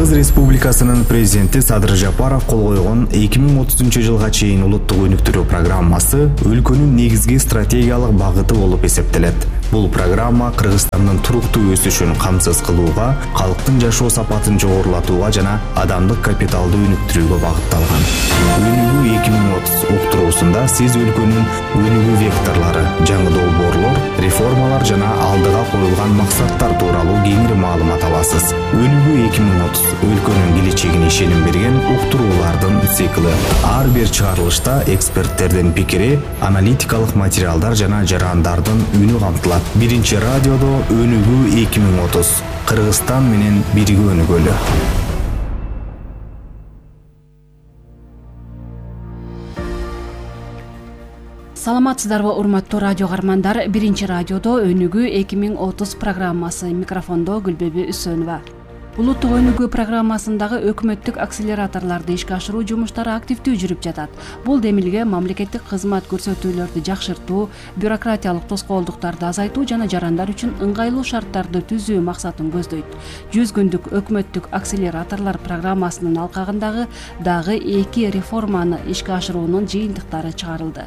Кыргыз Республикасынын президенти Садыр Жапаров кол койгон 2030-жылга чейин улуттук өнүктүрүү программасы өлкөнүн негизги стратегиялык багыты болуп эсептелет. Бул программа Кыргызстандын туруктуу өсүшүн камсыз кылууга, калктын жашоо сапатын жогорулатууга жана адамдык капиталды өнүктүрүүгө багытталган. Өнүгүү 2030 уктуруусунда сиз өлкөнүн өнүгүү векторлору, жаңы долбоорлор, реформалар жана алдыга коюлган максаттар тууралуу кеңири маалымат аласыз. Өнүгүү 2030 өлкөнүн келечегине ишеним берген уктуруулардын цикли. Ар бир чыгарылышта эксперттердин пикири, аналитикалык материалдар жана жарандардын үнү камтылат. Биринчи радиодо Өнүгүү 2030. Кыргызстан менен бирге өнүгөлү. Саламатсыздарбы, урматтуу радио каармандар. Биринчи радиодо Өнүгүү 2030 программасы. Микрофондо Гүлбеби Үсөнова. Улуттук өнүгүү программасындагы өкмөттүк акселераторлорду ишке ашыруу жумуштары активдүү жүрүп жатат. Бул демилге мамлекеттик кызмат көрсөтүүлөрдү жакшыртуу, бюрократиялык тоскоолдуктарды азайтуу жана жарандар үчүн ыңгайлуу шарттарды түзүү максатын көздөйт. 100 күндүк өкмөттүк акселераторлор программасынын алкагындагы дагы 2 реформаны ишке ашыруунун жыйынтыктары чыгарылды.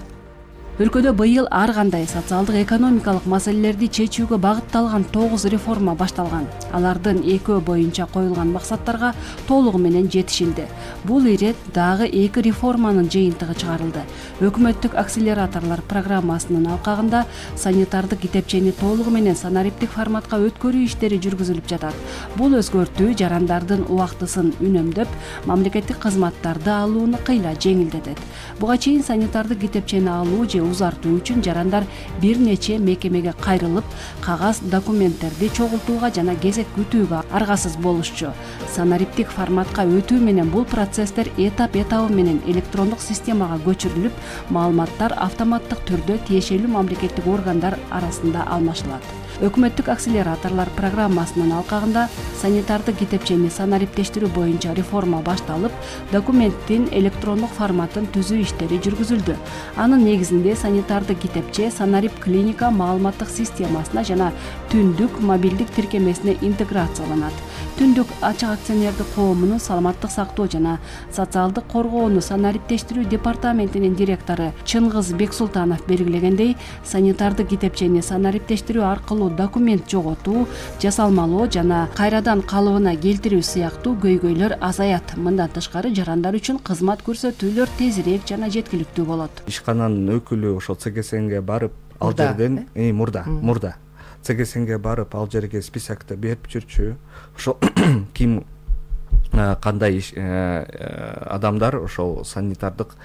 Өлкөдө быйыл ар кандай социалдык экономикалык маселелерди чечүүгө багытталган 9 реформа башталган. Алардын 2 боюнча коюлган максаттарга толугу менен жетишилди. Бул ирет дагы 2 реформанын жыйынтыгы чыгарылды. Өкмөттүк акселераторлор программасынын алкагында санитардык китепчени толугу менен санариптик форматка өткөрүү иштери жүргүзүлүп жатат. Бул өзгөртүү жарандардын убактысын үнөмдөп, мамлекеттик кызматтарды алууну кыйла жеңилдетет. Буга чейин санитардык китепчени алуу же узартуу үчүн жарандар бир нече мекемеге кайрылып, кагаз документтерди чогултууга жана кезек күтүүгө аргасыз болушчу. Санариптик форматка өтүү менен бул процесстер этап-этабы менен электрондук системага көчүрүлүп, маалыматтар автоматтык түрдө тиешелүү мамлекеттик органдар арасында алмашылат. Өкмөттүк акселераторлор программасынын алкагында санитардык китепчени санариптештирүү боюнча реформа башталып, документтин электрондук форматын түзүү иштери жүргүзүлдү. Анын негизинде санитардык китепче санарип клиника маалыматтык системасына жана түндүк мобилдик тиркемесине интеграцияланат. Түндүк ачык акционердик коомунун саламаттык сактоо жана социалдык коргоону санариптештирүү департаментинин директору Чыңгыз Бексултанов белгилегендей, санитардык китепчени санариптештирүү аркылуу документ жоготуу, жасалмалоо жана кайрадан калыбына келтирүү сыяктуу көйгөйлөр азаят. Мындан тышкары жарандар үчүн кызмат көрсөтүүлөр тезирээк жана жеткиликтүү болот. Ишкананын өкүлү ошо ЦГСНге барып, ал жерден мурда ЦГСНге барып, ал жерге списокто берип жүрчү. Ошо ким кандай адамдар ошол санитардык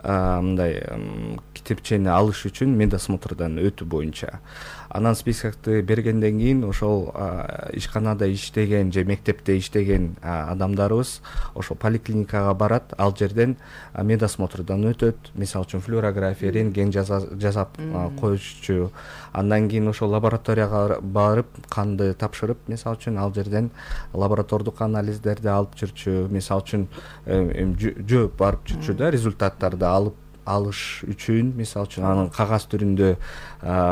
мындай китепчени алыш үчүн медосмотрдан өтүү боюнча. Анан списокты бергенден кийин ошол ишканада иштеген же мектепте иштеген адамдарыбыз ошол поликлиникага барат, ал жерден медосмотрдан өтөт. Мисалы үчүн флюорография, рентген жасап коюшчу. Андан кийин ошол лабораторияга барып, канды тапшырып, мисалы үчүн ал жерден лаборатордук анализдерди алып жүрчү. Мисалы үчүн жооп барып жүрчү да, результаттарды алыш үчүн, мисалы үчүн анын кагаз түрүндө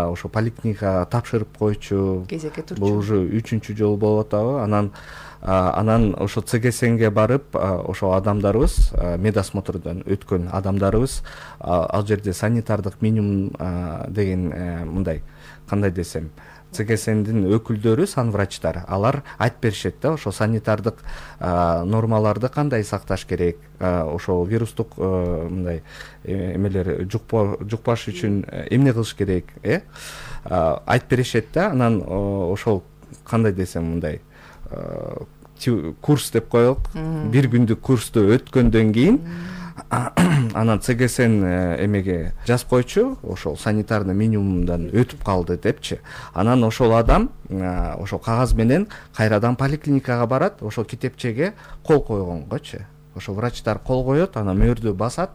ошо поликлиникага тапшырып койчу. Кезекке турчу. Бул уже 3-чү жолу болуп атабы. Анан ошо ЦГСНге барып, ошо адамдарыбыз, медосмотрдан өткөн адамдарыбыз, ал жерде санитардык минимум деген мындай, кандай десем, ЦГСНдин өкүлдөрү, санврачтар, алар айтып беришет да, ошо санитардык нормаларды кандай сакташ керек, ошо вирустук мындай эмелер жукпаш үчүн эмне кылыш керек, айтып беришет да. Анан ошол кандай десем мындай курс деп коелук, бир күндүк курсту өткөндөн кийин анан ЦГСН эмеге жазып койчу, ошол санитарный минимумдан өтүп калды депчи. Анан ошол адам ошол кагаз менен кайрадан поликлиникага барат, ошол китепчеге кол койгонгочу. Ошо врачтар кол коет, анан мөөрдү басат.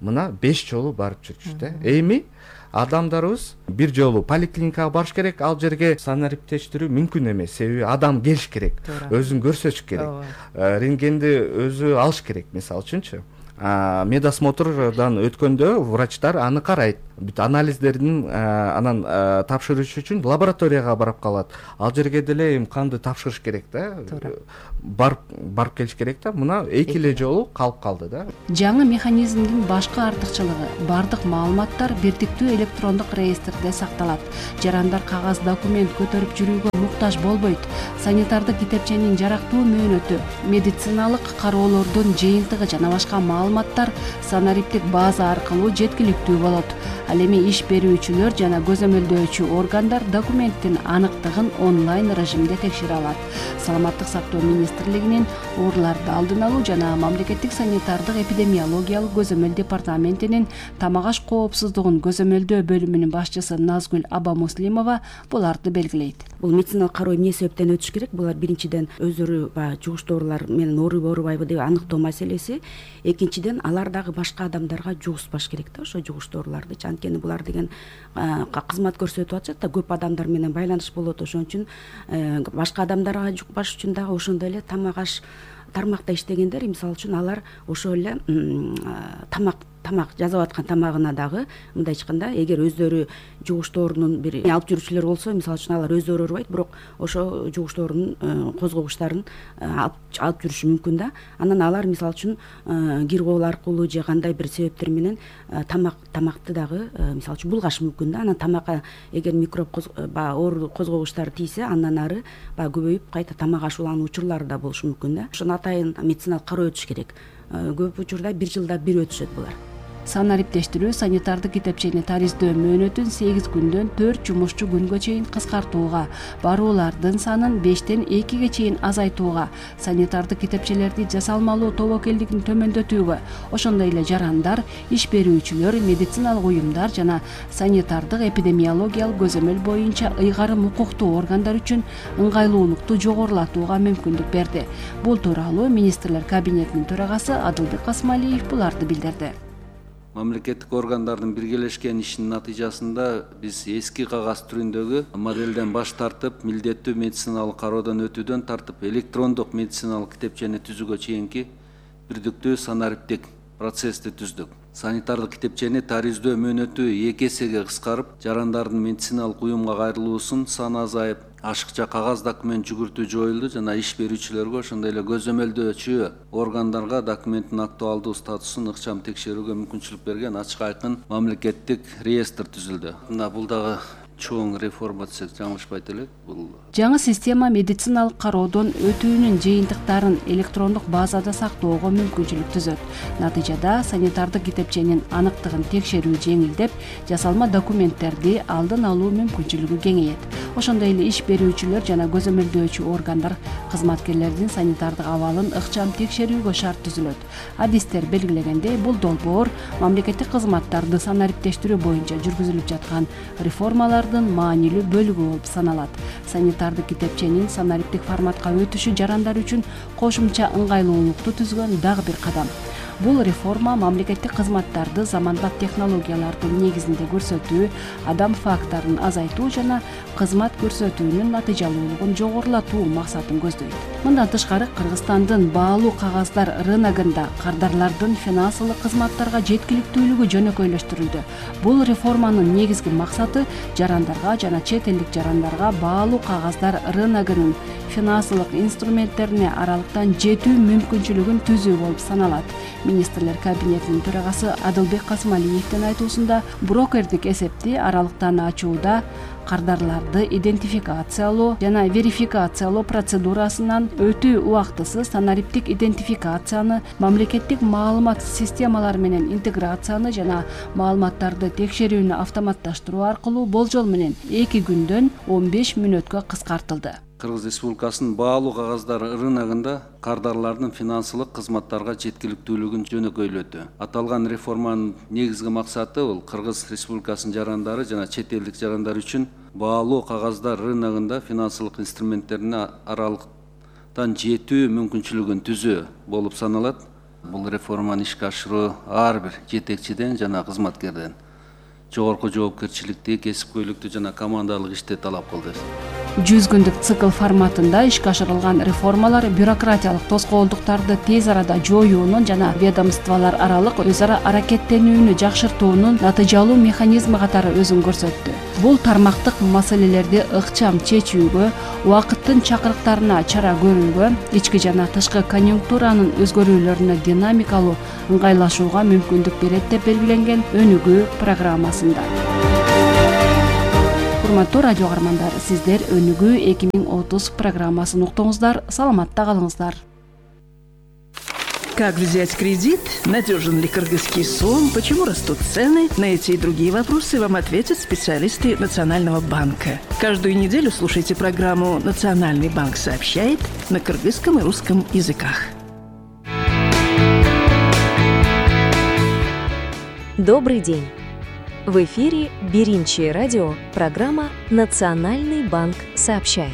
Мына 5 жолу барып жүрчү да. Эми адамдарыбыз бир жолу поликлиникага барыш керек, ал жерге санариптештирүү мүмкүн эмес. Себеби адам келиш керек, өзүн көрсөтүш керек, рентгенди өзү алыш керек, мисалы үчүнчү. медосмотрдан өткөндө врачтар аны карайт, бүт анализдерин анан тапшырыш үчүн лабораторияга барып калат. Ал жерге деле эми канды тапшырыш керек да, барып келиш керек да. Мына 2 эле жолу калып калды да. Жаңы механизмдин башкы артыкчылыгы бардык маалыматтар бирдиктүү электрондук реестрде сакталат. Жарандар кагаз документ көтөрүп жүрүүгө муктаж болбойт. Санитардык китепченин жарактуу мөөнөтү, медициналык кароолордун жыйынтыгы жана башка маалыматтар санариптик база аркылуу жеткиликтүү болот. Ал эми иш берүүчүлөр жана көзөмөлдөөчү органдар документтин аныктыгын онлайн режимде текшере алат. Саламаттык сактоо министрлигинин ооруларды алдын алуу жана мамлекеттик санитардык эпидемиологиялык көзөмөл департаментинин тамак аш коопсуздугун көзөмөлдөө бөлүмүнүн башчысы Назгүл Абамуслимова буларды белгилейт. Бул медициналык кароо эмне себептен өтүш керек? Булар биринчиден өздөрү жугуш доорулар менен ооруйбу оорубайбы деп аныктоо маселеси. Экинчиден алар дагы башка адамдарга жугузбаш керек да, ошо жугуш дооруларды. Анткени булар деген кызмат көрсөтүп атышат да, көп адамдар менен байланыш болот. Ошон үчүн башка адамдарга жукпаш үчүн дагы ошондой эле тамак аш тармакта иштегендер, мисалы үчүн алар ошол эле тамак жасап аткан тамагына дагы мындай айтканда, эгер өздөрү жугуш доорунун бир алып жүрүүчүлөр болсо, мисалы үчүн алар өздөрү оорубайт, бирок ошо жугуш доорунун козгогучтарын алып жүрүшү мүмкүн да. Анан алар мисалы үчүн кир кол аркылуу же кандай бир себептер менен тамакты дагы мисалы үчүн булгашы мүмкүн да. Анан тамакка эгер микроб оору козгогучтары тийсе, андан ары көбөйүп кайта тамак ашуулануу учурлары да болушу мүмкүн да. Ошону атайын медициналык кароо өтүш керек. Көп учурда 1 жылда 1 өтүшөт булар. Санариптештирүү санитардык китепчени тариздөө мөөнөтүн 8 күндөн 4 жумушчу күнгө чейин кыскартууга, баруулардын санын 5тен 2ге чейин азайтууга, санитардык китепчелерди жасалмалуу тобокелдигин төмөндөтүүгө, ошондой эле жарандар, иш берүүчүлөр, медициналык уюмдар жана санитардык эпидемиологиялык көзөмөл боюнча ыйгарым укуктуу органдар үчүн ыңгайлуулукту жогорулатууга мүмкүндүк берди. Бул тууралуу министрлер кабинетинин төрагасы Адылбек Касмалиев буларды билдирди. Мамлекеттик органдардын биргелешкен ишинин натыйжасында биз эски кагаз түрүндөгү моделден баш тартып, милдеттүү медициналык кароодон өтүүдөн тартып, электрондук медициналык китепчени түзүүгө чейинки бирдиктүү санариптик процессти түздүк. Санитардык китепчени тариздөө мөөнөтү 2 эсеге кыскарып, жарандардын медициналык уюмга кайрылуусунун саны азайып, ашыкча кагаз документ жүгүртүү жоюлду жана иш берүүчүлөргө, ошондой эле көзөмөлдөөчү органдарга документтин актуалдуу статусун ыкчам текшерүүгө мүмкүнчүлүк берген ачык айкын мамлекеттик реестр түзүлдү. Мына бул дагы чоң реформа десек жаңылышпайт элек. Бул жаңы система медициналык кароодон өтүүнүн жыйынтыктарын электрондук базада сактоого мүмкүнчүлүк түзөт. Натыйжада санитардык китепченин аныктыгын текшерүү жеңилдеп, жасалма документтерди алдын алуу мүмкүнчүлүгү кеңейет. Ошондой эле иш берүүчүлөр жана көзөмөлдөөчү органдар кызматкерлердин санитардык абалын ыкчам текшерүүгө шарт түзүлөт. Адистер белгилегендей, бул долбоор мамлекеттик кызматтарды санариптештирүү боюнча жүргүзүлүп жаткан реформалардын маанилүү бөлүгү болуп саналат. Санитардык китепченин санариптик форматка өтүшү жарандар үчүн кошумча ыңгайлуулукту түзгөн дагы бир кадам. Бул реформа мамлекеттик кызматтарды заманбап технологиялардын негизинде көрсөтүү, адам факторун азайтуу жана кызмат көрсөтүүнүн натыйжалуулугун жогорулатуу максатын көздөйт. Мындан тышкары Кыргызстандын баалуу кагаздар рыногунда кардарлардын финансылык кызматтарга жеткиликтүүлүгү жөнөкөйлөштүрүлдү. Бул реформанын негизги максаты жарандарга жана чет элдик жарандарга баалуу кагаздар рыногунун финансылык инструменттерине аралыктан жетүү мүмкүнчүлүгүн түзүү болуп саналат. Министрлер кабинетинин төрагасы Адылбек Касмалиевдин айтуусунда, брокердик эсепти аралыктан ачууда кардарларды идентификациялоо жана верификациялоо процедурасынан өтүү убактысы санариптик идентификацияны, мамлекеттик маалымат системалары менен интеграцияны жана маалыматтарды текшерүүнү автоматташтыруу аркылуу болжол менен 2 күндөн 15 мүнөткө кыскартылды. Кыргыз Республикасынын баалуу кагаздар рыногунда кардарлардын финансылык кызматтарга жеткиликтүүлүгүн жөнөкөйлөдү. Аталган реформанын негизги максаты бул Кыргыз Республикасынын жарандары жана чет элдик жарандар үчүн баалуу кагаздар рыногунда финансылык инструменттерине аралыктан жетүү мүмкүнчүлүгүн түзүү болуп саналат. Бул реформаны ишке ашыруу ар бир жетекчиден жана кызматкерден жогорку жоопкерчиликти, кесипкөйлүктү жана командалык ишти талап кылды. 100 күндүк цикл форматында ишке ашырылган реформалар бюрократиялык тоскоолдуктарды тез арада жоюунун жана ведомстволор аралык өз ара аракеттенүүнү жакшыртуунун натыйжалуу механизми катары өзүн көрсөттү. Бул тармактык маселелерди ыкчам чечүүгө, убакыттын чакырыктарына чара көрүүгө, ички жана тышкы конъюнктуранын өзгөрүүлөрүнө динамикалуу ыңгайлашууга мүмкүндүк берет деп белгиленген өнүгүү программасында. Урматтуу радио каармандар, сиздер Өнүгүү 2030 программасын уктуңуздар. Саламатта калыңыздар. Как взять кредит? Надежен ли кыргызский сом? Почему растут цены? На эти и другие вопросы вам ответят специалисты Национального банка. Каждую неделю слушайте программу «Национальный банк сообщает» на кыргызском и русском языках. Добрый день! В эфире Биринчи радио, программа «Национальный банк сообщает».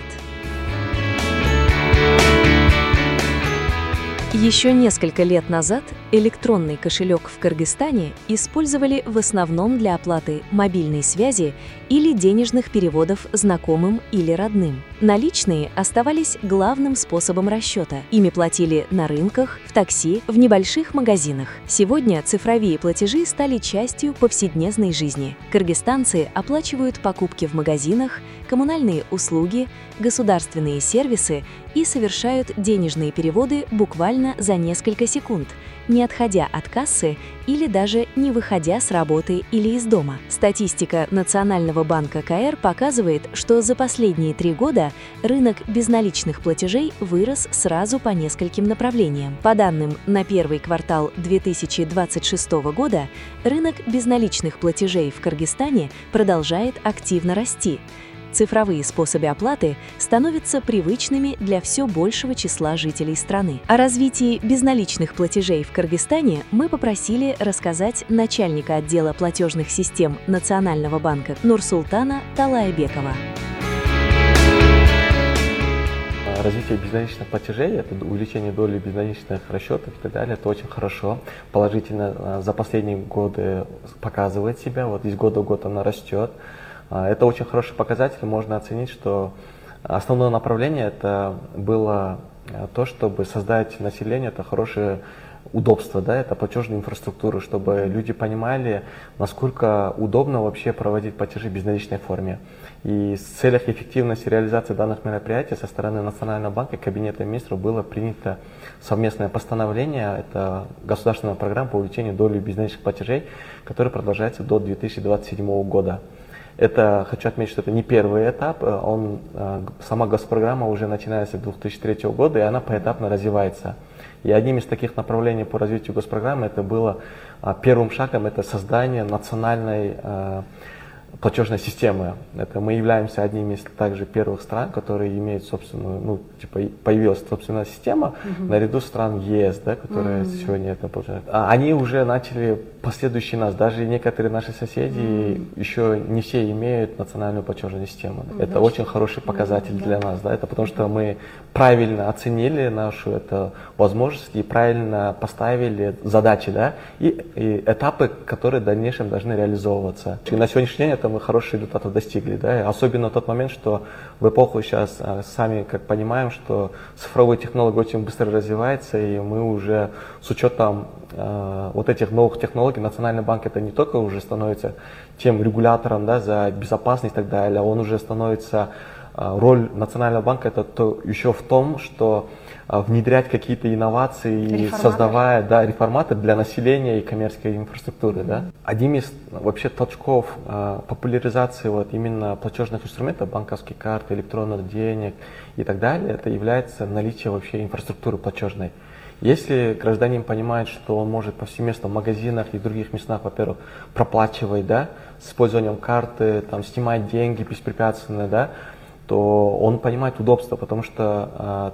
Еще несколько лет назад электронный кошелек в Кыргызстане использовали в основном для оплаты мобильной связи или денежных переводов знакомым или родным. Наличные оставались главным способом расчета. Ими платили на рынках, в такси, в небольших магазинах. Сегодня цифровые платежи стали частью повседневной жизни. Кыргызстанцы оплачивают покупки в магазинах, коммунальные услуги, государственные сервисы и совершают денежные переводы буквально за несколько секунд, не отходя от кассы или даже не выходя с работы или из дома. Статистика Национального банка КР показывает, что за последние 3 года рынок безналичных платежей вырос сразу по нескольким направлениям. По данным на первый квартал 2026 года, рынок безналичных платежей в Кыргызстане продолжает активно расти. Цифровые способы оплаты становятся привычными для все большего числа жителей страны. О развитии безналичных платежей в Кыргызстане мы попросили рассказать начальника отдела платежных систем Национального банка Нурсултана Талаебекова. Развитие безналичных платежей, это увеличение доли безналичных расчетов и так далее, это очень хорошо. Положительно за последние годы показывает себя, вот из года в год она растет. Это очень хороший показатель, можно оценить, что основное направление это было то, чтобы создать население, это хорошее удобство, да, это платежная инфраструктура, чтобы люди понимали, насколько удобно вообще проводить платежи в безналичной форме. И в целях эффективности реализации данных мероприятий со стороны Национального банка и Кабинета министров было принято совместное постановление, это государственная программа по увеличению доли безналичных платежей, которая продолжается до 2027 года. Это, хочу отметить, что это не первый этап, сама госпрограмма уже начинается с 2003 года, и она поэтапно развивается. И одним из таких направлений по развитию госпрограммы это было первым шагом, это создание национальной платежной системы. Это мы являемся одним из также первых стран, которые имеют собственную, появилась собственная система, наряду стран ЕС, да, которые сегодня это получают. Они уже начали последующие нас, даже некоторые наши соседи еще не все имеют национальную платежную систему. Это очень хороший показатель для нас, да, это потому что мы правильно оценили нашу эту возможность и правильно поставили задачи, да, и этапы, которые в дальнейшем должны реализовываться. И на сегодняшний день мы хорошие результаты достигли, да, особенно тот момент, что в эпоху сейчас сами как понимаем, что цифровые технологии очень быстро развиваются, и мы уже с учетом вот этих новых технологий, Национальный банк это не только уже становится тем регулятором, да, за безопасность и так далее, он уже становится, роль Национального банка это еще в том, что внедрять какие-то инновации, создавая, да, реформаты для населения и коммерческой инфраструктуры. Да. Одним из вообще толчков популяризации вот именно платежных инструментов, банковских карт, электронных денег и так далее, это является наличие вообще инфраструктуры платежной. Если гражданин понимает, что он может повсеместно в магазинах и других местах, во-первых, проплачивать, да, с использованием карты, там, снимать деньги беспрепятственно, да, то он понимает удобство, потому что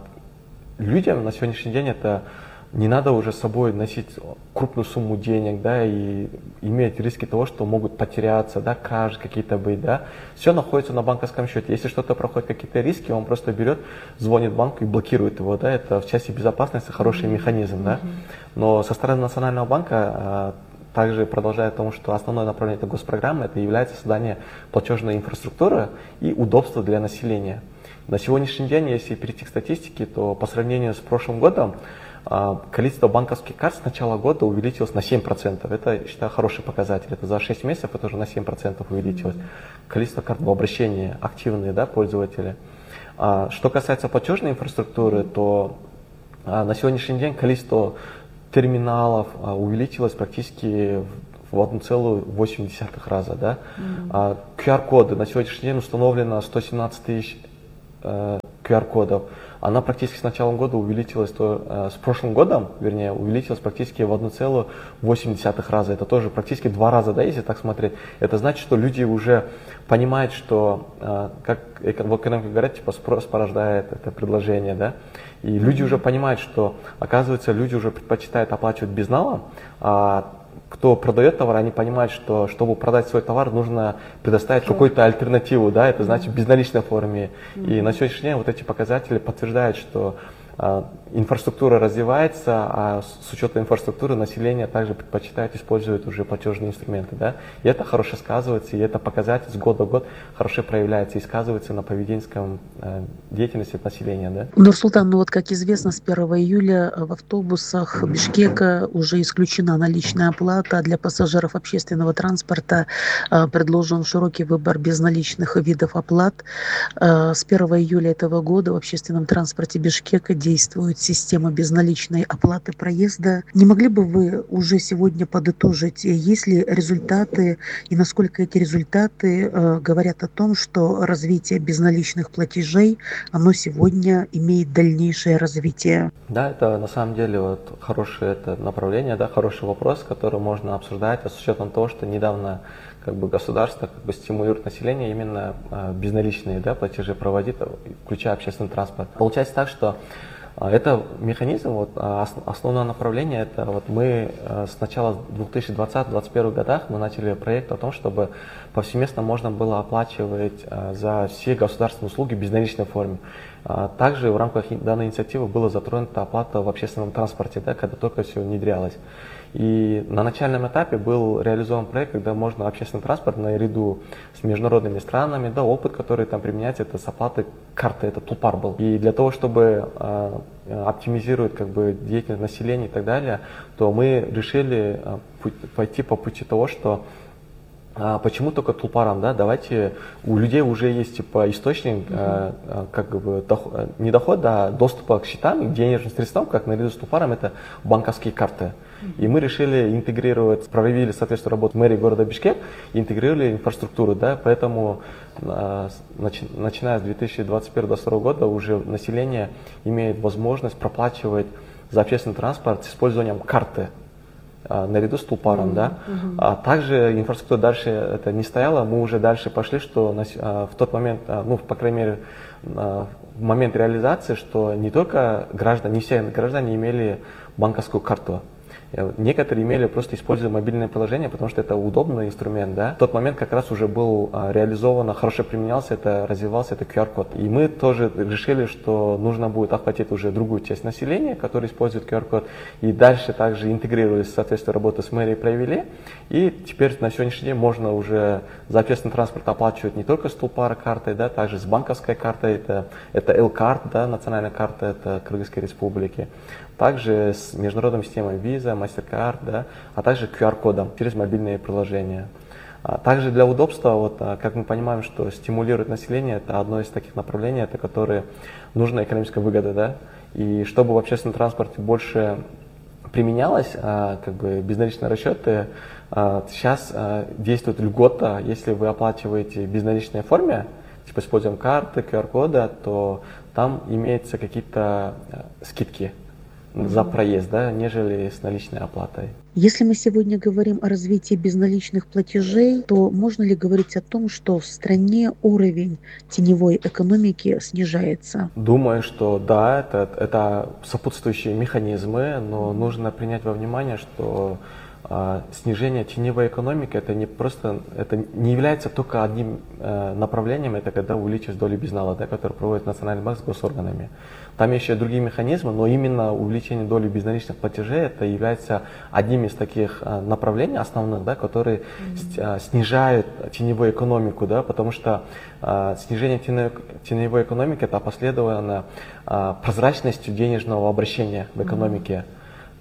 людям на сегодняшний день это не надо уже с собой носить крупную сумму денег, да, и иметь риски того, что могут потеряться, да, кражи какие-то быть, да. Все находится на банковском счете. Если что-то проходит, какие-то риски, он просто берет, звонит банку и блокирует его, да. Это в части безопасности хороший механизм, да. Но со стороны Национального банка также продолжает тому, что основное направление этой госпрограммы это является создание платежной инфраструктуры и удобства для населения. На сегодняшний день, если перейти к статистике, то по сравнению с прошлым годом количество банковских карт с начала года увеличилось на 7%. Это, я считаю, хороший показатель. Это за 6 месяцев это уже на 7% увеличилось. Количество карт в обращении, активные, да, пользователи. Что касается платежной инфраструктуры, то на сегодняшний день количество терминалов увеличилось практически в 1,8 раза. Да? QR-коды. На сегодняшний день установлено 117 тысяч QR-кодов. Она практически с началом года увеличилась, с прошлым годом, вернее, увеличилась практически в 1,8 раза. Это тоже практически 2 раза, да, если так смотреть. Это значит, что люди уже понимают, что, как в экономике говорят, типа спрос порождает это предложение, да. И люди уже понимают, что, оказывается, люди уже предпочитают оплачивать безналом, кто продает товар, они понимают, что чтобы продать свой товар, нужно предоставить какую-то альтернативу, да, это значит в безналичной форме. И на сегодняшний день вот эти показатели подтверждают, что инфраструктура развивается, а с учетом инфраструктуры население также предпочитает использовать уже платежные инструменты, да. И это хорошо сказывается, и это показатель с года в год хорошо проявляется и сказывается на поведенческом деятельности населения, да. Нурсултан, ну вот как известно, с 1 июля в автобусах Бишкека уже исключена наличная оплата. Для пассажиров общественного транспорта предложен широкий выбор безналичных видов оплат. С 1 июля этого года в общественном транспорте Бишкека действует система безналичной оплаты проезда. Не могли бы вы уже сегодня подытожить, есть ли результаты и насколько эти результаты говорят о том, что развитие безналичных платежей, оно сегодня имеет дальнейшее развитие? Да, это на самом деле вот хорошее это направление, да, хороший вопрос, который можно обсуждать, с учетом того, что недавно как бы государство как бы стимулирует население именно безналичные, да, платежи проводить, включая общественный транспорт. Получается так, что это механизм, вот, основное направление, это вот мы с начала 2020-2021 годах мы начали проект о том, чтобы повсеместно можно было оплачивать за все государственные услуги в безналичной форме. Также в рамках данной инициативы была затронута оплата в общественном транспорте, да, когда только все внедрялось. И на начальном этапе был реализован проект, когда можно общественный транспорт наряду с международными странами, да, опыт, который там применяется, это с оплатой карты, это Тулпар был. И для того, чтобы оптимизировать как бы деятельность населения и так далее, то мы решили пойти по пути того, что почему только Тулпаром, да? Давайте, у людей уже есть типа источник, как бы не доход, а доступа к счетам и денежным средствам, как наряду с Тулпаром, это банковские карты. И мы решили интегрировать, провели соответствующую работу мэрии города Бишкек, интегрировали инфраструктуру, да, поэтому начиная с 2021-2022 года уже население имеет возможность проплачивать за общественный транспорт с использованием карты наряду с Тулпаром, да. Также инфраструктура дальше это не стояла, мы уже дальше пошли, что в тот момент, ну, по крайней мере, в момент реализации, что не только граждане, не все граждане имели банковскую карту. Некоторые имели просто используя мобильное приложение, потому что это удобный инструмент, да. В тот момент как раз уже был реализован, хорошо применялся, это развивался, это QR-код. И мы тоже решили, что нужно будет охватить уже другую часть населения, которая использует QR-код. И дальше также интегрировались, соответственно, работу с мэрией провели. И теперь на сегодняшний день можно уже за общественный транспорт оплачивать не только с Тулпара картой, да, также с банковской картой, это L-карт, да, национальная карта, это Кыргызской республики. Также с международной системой Visa, MasterCard, да, а также QR-кодом через мобильные приложения. Также для удобства, вот, как мы понимаем, что стимулировать население, это одно из таких направлений, это которые нужна экономическая выгода, да, и чтобы в общественном транспорте больше применялось, как бы безналичные расчеты, сейчас действует льгота, если вы оплачиваете в безналичной форме, типа используем карты, QR-кода, то там имеются какие-то скидки за проезд, да, нежели с наличной оплатой. Если мы сегодня говорим о развитии безналичных платежей, то можно ли говорить о том, что в стране уровень теневой экономики снижается? Думаю, что да, это сопутствующие механизмы, но нужно принять во внимание, что снижение теневой экономики это не является только одним направлением, это когда увеличивается доля безнала, да, который проводит Национальный банк с госорганами. Там еще другие механизмы, но именно увеличение доли безналичных платежей это является одним из таких направлений основных, да, которые снижают теневую экономику, да, потому что снижение теневой экономики это опосредовано прозрачностью денежного обращения в экономике.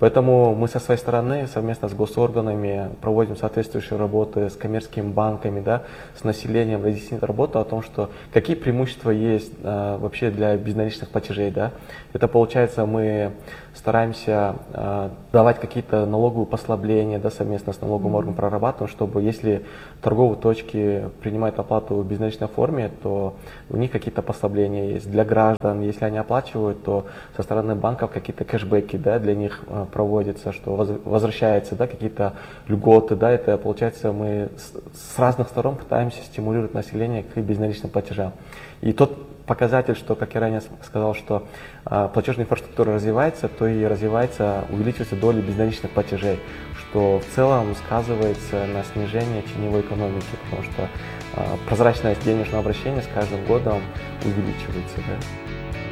Поэтому мы со своей стороны совместно с госорганами проводим соответствующие работы с коммерческими банками, да, с населением, разъяснить работу о том, что какие преимущества есть вообще для безналичных платежей. Да. Это получается, мы стараемся давать какие-то налоговые послабления, да, совместно с налоговым органом прорабатываем, чтобы если торговые точки принимают оплату в безналичной форме, то у них какие-то послабления есть. Для граждан, если они оплачивают, то со стороны банков какие-то кэшбэки, да, для них проводятся, что возвращаются, да, какие-то льготы, да, это получается мы с разных сторон пытаемся стимулировать население к безналичным платежам. И тот показатель, что, как я ранее сказал, что платежная инфраструктура развивается, то и развивается, увеличивается доля безналичных платежей, что в целом сказывается на снижении теневой экономики, потому что прозрачность денежного обращения с каждым годом увеличивается. Да.